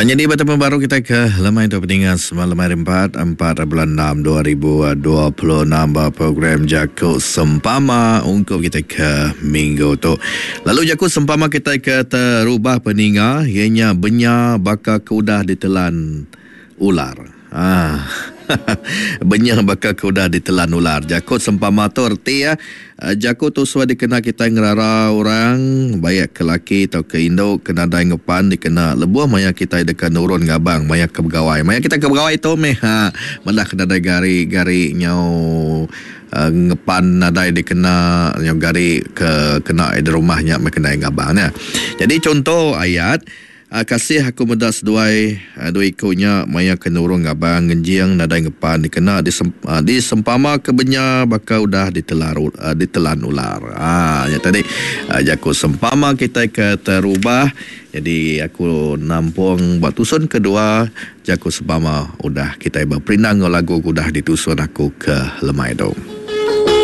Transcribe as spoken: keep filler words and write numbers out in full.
Nyadi betemu baru kita ke lemai tu peninga semalam hari empat, empat bulan enam dua ribu dua puluh enam ba program Jaku Sempama ungkup kita ke minggu tu. Lalu jaku sempama kita ke terubah peninga ianya benya baka ke udah ditelan ular. Ah. Benya baka ke udah ditelan ular. Jaku sempama tu erti ya, jaku tu suah dikena kita ngerara orang baik ke laki atau ke indu ke nadai ngepan dikena lebuh maya kita deka nurun ngabang maya ke begawai. Maya kita ke begawai tu meh ha malah ke nadai gari-gari nyau uh, ngepan nadai dikena nyau gari ke kena di rumah nya meh kena ngabang ya. Jadi contoh ayat, kasih aku meda seduai dua iku nya maya ke nurung ngabang ngenjing nadai ngepan dikena disempama ke benya baka udah ditelan ditelan ular. Ah ya tadi jaku sempama kita ke terubah. Jadi aku nampung buat tusun kedua jaku sempama udah kita berperindang lagu udah ditusun aku ke lemai tu.